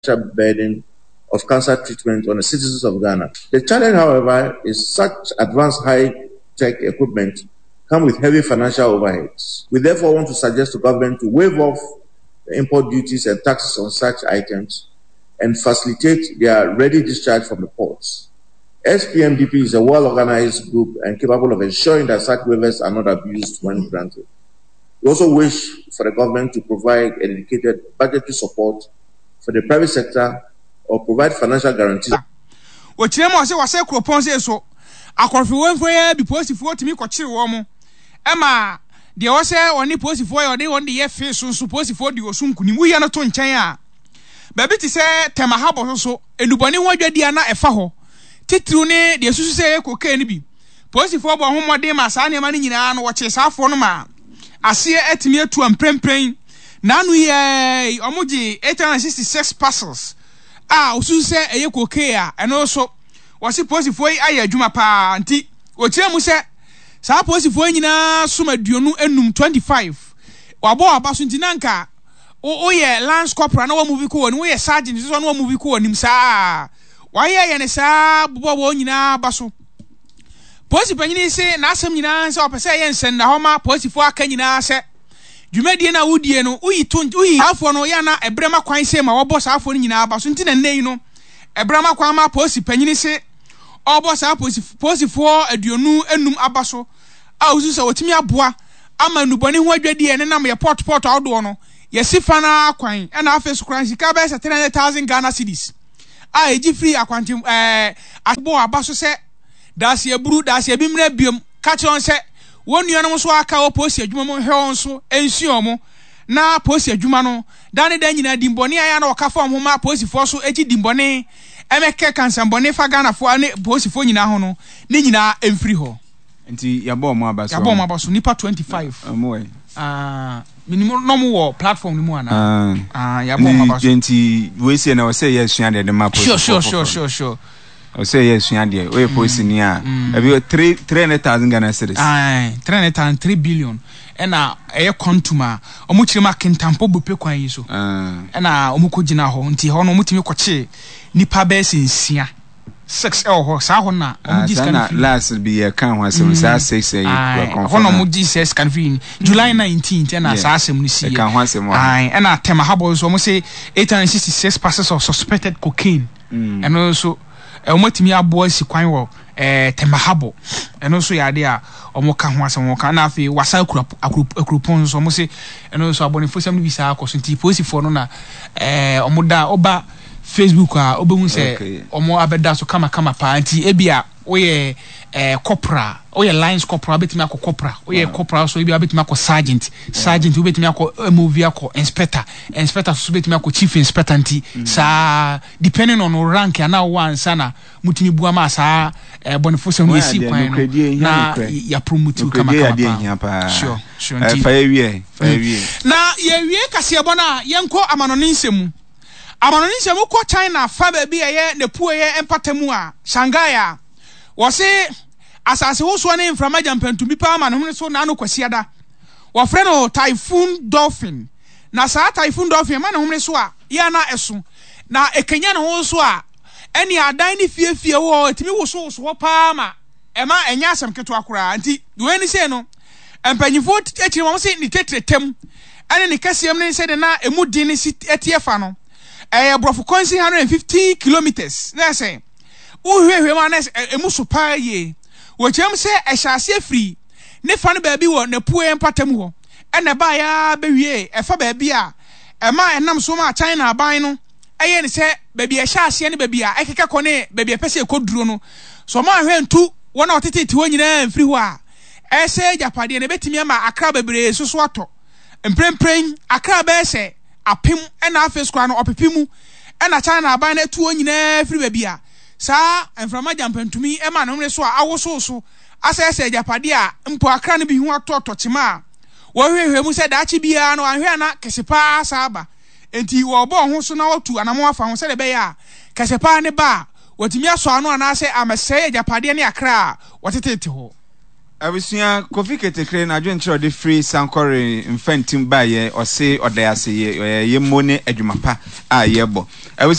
expenditure burden of cancer treatment on the citizens of Ghana. The challenge, however, is such advanced high-tech equipment come with heavy financial overheads. We therefore want to suggest to government to waive off the import duties and taxes on such items and facilitate their ready discharge from the ports. SPMDP is a well-organized group and capable of ensuring that such waivers are not abused when granted. We also wish for the government to provide a dedicated budgetary support for the private sector or provide financial guarantees. Wɔkyerɛ mu a ɔsɛ wɔsɛ kuropɔn sei so akɔrɔfewɛmfoɔ yi ara bi polisifoɔ tumi kɔkyere wɔn ma deɛ ɔsɛ ɔne polisifoɔ yɛ ɔde wɔn de yɛ fee so nso polisifoɔ di ɔso nkunim woyɛ no to nkyɛn a baabi te sɛ Tema Harbour so so nnubɔne ho adwadie a na ɛfa hɔ titiriw ne deɛ ɛsusu sɛ ɛyɛ cocaine no bi polisifoɔ bɔ ho mmɔden ma saa nneɛma no nyinaa no wɔkyee saa afoɔ no ma aseɛ atumi atu a mprempren n'ano yi ara yi wɔgye 866 parcels a wɔsusu sɛ ɛyɛ cocaine a ɛno nso wɔse polisifoɔ yi ayɛ adwuma paa nti wɔkyerɛ mu sɛ saa polisifoɔ yi nyinaa som 25, 25 wɔabɔ wɔn aba so nti na nka woyɛ lance corporal na wɔn movie kɔ wɔn anim woyɛ sergeant nso na wɔn movie kɔ wɔn anim saa wɔayɛ yɛ ne saa bobɔ wɔn nyinaa aba so polisi panyin yi se n'asɛm nyinaa sɛ ɔpɛ sɛ ɛyɛ nsɛnnahɔ ma polisifoɔ aka nyinaa sɛ dwumadie no a wodie no woyi to woyi saafoɔ no yɛ na ɛbrɛ ma kwan sɛ ma wɔbɔ saafoɔ no nyinaa aba so nti na nnɛ yi no ɛbrɛ ma kwan ma polisi panyin se ɔbɔ saa polisi polisifoɔ 55 aba so a wosu sɛ wɔtumi aboa ama nnubɔne ho adwadie a ɛnenam yɛ port port ahodoɔ no yɛsi fa no ara kwan ɛna afei so koraa sika bɛyɛ sɛ 300,000 Ghana cedis a ɛgye firi akwante ɛɛ abɔ aba so sɛ daase aburu daase abi mmerɛ biom ka kyerɛ wɔn sɛ wɔn nuanom nso aka wɔ polisi adwuma mu nhwɛ wɔn so nsua wɔn na polisi adwuma no da ne da nyinaa dimbɔne a ɛyɛ a na wɔka fa wɔn ho ma polisifoɔ so gye dimbɔne ɛmɛkɛ kansambɔne fa Ghanafoɔ ne polisifoɔ nyinaa ho no ne nyinaa mfiri hɔ. Nti yɛabɔ wɔn aba so. Yɛabɔ wɔn aba so nipa 25. Wɔn wɔ yi. Ah, minim na wɔn wɔ platform no mu ana. Ah, ah yɛabɔ wɔn aba so. Nti wei sɛ na ɔsɛ yɛ sua deɛ de ma polisi. Sure. Ɔsɛ yɛ sua deɛ oyɛ polisi ni a. Ebi 300,000 Ghana cedis. Ah, 300,000 3 billion ɛna ɛyɛ quantum a wɔn kyerɛ mu akentampo bupe kwan yi so. Ɛna wɔn kɔ gyina hɔ nti hɔ no wɔn tumi kɔkye nipa bɛyɛ sɛ nsia six ɛwɔ hɔ saa hɔ na wɔn gye sika no firi. Last bi yɛ kan ho asɛm saa six ɛyi kɔnfɔ hɔ na wɔn gye sɛ sika no firi July 19 ɛna saa asɛm no si yɛ. Ɛka ho asɛm wɔ ha. Ɛna Tema Harbour nso wɔn sɛ 866 parcels of suspected cocaine ɛno nso wɔn atumi aboa si kwan wɔ Tema Harbour ɛno nso yɛ adeɛ a wɔn ka ho asɛm wɔn ka na afei wasa akura akuropɔn nso wɔn se ɛno nso abɔnefosɛm no bi saa akɔ so nti polisifoɔ no na wɔn da ɔba Facebook a wobɛhu sɛ wɔn abɛda so kamakama paa nti ebi a woyɛ corporal woyɛ lance corporal wobɛtumi akɔ corporal woyɛ corporal so ebi a wobɛtumi akɔ sergeant sergeant wobɛtumi akɔ MOV akɔ inspector inspector so wobɛtumi akɔ chief inspector nti saa depending on rank anaa wowɔ ansa na mutumi bua ma saa bɔnefosɛm no yɛsi kwan no na yɛapromote wo kamakama paa sure nti fa yɛwie fa yɛwie na yɛwie kaseɛbɔ no a yɛnkɔ amanɔne nsɛm mu. Amanɔne nsɛm wokɔ China fa baabi a ɛyɛ n'apueɛ mpata mu a, Shanghai a, wɔse asase wosoɔ ne mframa gyampantumbi paa ma ne hwene so n'ano Kwasiada. Wɔfrɛ no Typhoon Dolphin. Na saa Typhoon Dolphin ɛma ne homene so a, yɛ a na ɛso. Na ɛkanya ne ho nso a, ɛne adan ne fie fie wɔ hɔ, ɛtumi wosowoso hɔ paa ma ɛma ɛnyɛ asɛm ketewa koraa. Nti wei ne sei no, mpanyinfoɔ akyiri wɔn se ne tɛtrɛtɛm ɛne ne kɛseɛm ne sɛdeɛ na emu den ne si teɛ fa no, ɛyɛ borɔfo kwansin 115 kilometres na ɛsɛ wohwehwɛ mu a na emu so paa yie. Wɔkyerɛ mu sɛ ɛhyɛ aseɛ firi ne fa no baabi wɔ n'apueɛ mpata mu hɔ ɛna ɛbaeɛ ara bɛwie ɛfa baabi a ɛma ɛnam so ma China aban no ɛyɛ ne sɛ baabi a ɛhyɛ aseɛ ne baabi a ɛkeka kɔ ne baabi a ɛpɛ sɛ ɛkɔduro no so ɔma ahwɛ ntu wɔn a wɔtetete hɔ nyinaa mfiri hɔ a ɛsɛ agyapadeɛ no ɛbɛtumi ama akra bebree nso so atɔ. Mprempren, akra bɛyɛ sɛ apem na afei so koraa no ɔpepe mu na China aban no atu wɔn nyinaa afiri baabi a saa mframa gyampantumi ma ne homene so a awosow so asɛesɛe agyapadeɛ a mpo akra no bi ho atɔtɔ kyema a wɔhwehwɛ mu sɛ daakye biara no anhwɛ a na kɛse paa asan aba. Enti wɔrebɔ wɔn ho so na wɔatu anammɔn afa ho sɛdeɛ ɛbɛyɛ a kɛse paa no ba a wɔatumi asɔ ano anaasɛ ammɛsɛe agyapadeɛ ne akra a wɔtetete hɔ. Abusua, Kofi Ketekre n'adwenkyerɛ a ɔde firi Sankore Mfantim baeɛ, ɔse ɔda ase yɛ yɛ mmo ne adwuma pa a yɛbɔ. Abusua.